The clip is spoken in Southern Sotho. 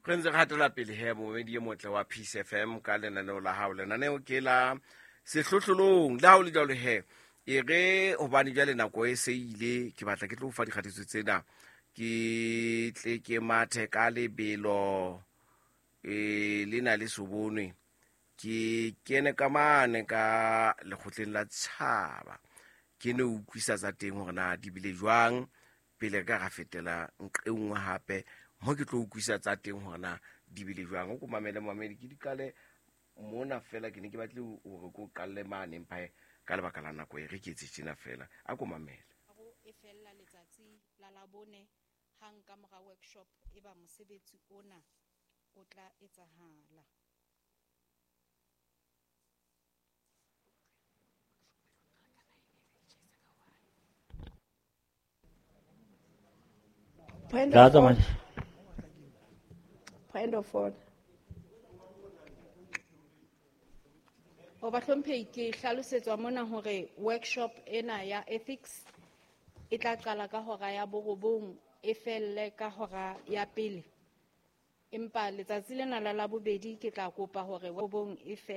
Re ntse re hatela pele he, momedi e motle wa Peace FM, ka lenaneo la hao. Lenaneo ke la Sehlohlolong. Le ha o le jwalo he, e re hobane jwale nako e se ile, ke batla ke tlo fa dikgatiso tsena, ke tle ke mathe ka lebelo e le na le sobonwe, ke kene ka mane ka lekgotleng la tshaba, ke ne utlwisa tsa teng hore na di bile jwang pele ka ra fetela nqe nngwe hape mo ke tlo utlwisa tsa teng hore na di bile jwang. O ko mamele, mamedi, ke di qale mona fela. Ke ne ke batle hore ke o qalle mane, empa ka lebaka la nako e re ke etse tjena fela. A ko mamele. E fella letsatsi la Labone, hang ka mora workshop e ba mosebetsi ona o tla etsahala. Point La of tsamaya. order. Point of order. O bahlomphehi, ke hlalosetswa mona hore workshop ena ya ethics e tla qala ka hora ya 9 e felle ka hora ya 1. Empa letsatsi lena la Labobedi ke tla kopa hore 9 e fele.